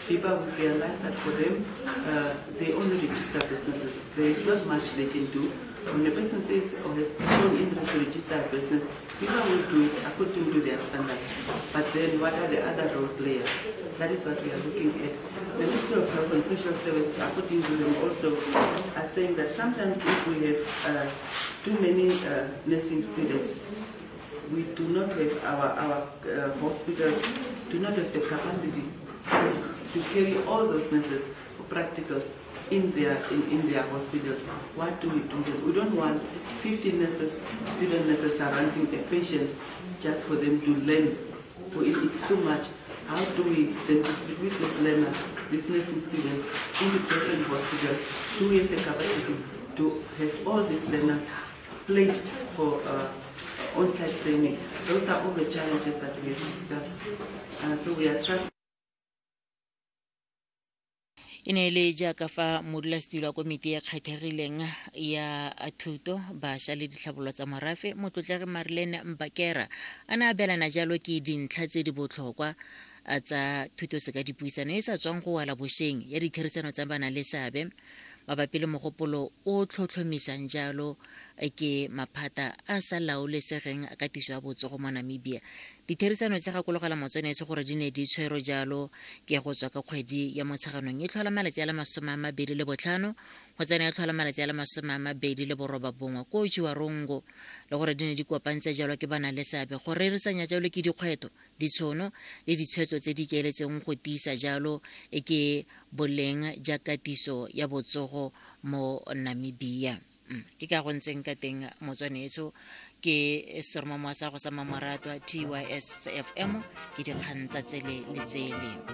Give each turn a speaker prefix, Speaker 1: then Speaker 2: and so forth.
Speaker 1: BIBA would realize that for them, they only register businesses. There is not much they can do. When a person says or has shown interest to register a business, BIBA will do it according to their standards. But then what are the other role players? That is what we are looking at. The Ministry of Health and Social Services, according to them also, are saying that sometimes if we have too many nursing students, we do not have our hospitals do not have the capacity to carry all those nurses for practicals in their hospitals. What do we do then? We don't want 50 nurses, student nurses surrounding a patient just for them to learn. For it, it's too much. How do we then distribute these learners, these nursing students, into different hospitals? Do we have the capacity to have all these learners placed for on-site training? Those are all the challenges that we have discussed. So we are trusting.
Speaker 2: E ne e le jaaka fa modulasetilo wa komiti e kgethegileng ya thuto, bašwa le ditlhabololo tsa morafe, Motlotlegi Marlene Mbakera, a ne a abelana jalo ke dintlha tse di botlhokwa tsa thuto seka dipuisano e sa tswang go wela bošeng ya ditherisano tsa bana le seabe mabapi le mogopolo o tlhotlhomisang jalo ke maphata a sa laolesegeng a katiso ya botsogo mo Namibia. Ditherisano tse gakologela motswanetse gore di ne di tshwerwe jalo ke go tswa ka kgwedi ya Motsheganong e tlhola malatsi a le 25 go tsena e tlhola malatsi a le 29 ko Otjiwarongo, le gore di ne di kopantse jalo ke bana le seabe go rerisanya jalo ke dikgwetho, ditshono le ditshwetso tse di ikaeletseng go tiisa jalo e ke boleng ja katiso ya botsogo mo Namibia. Ke ka go ntseng ka teng motswanetso ke seromamowa sa go sa mamoratwa TYSFM ke dikgang tsa tsele le tsele.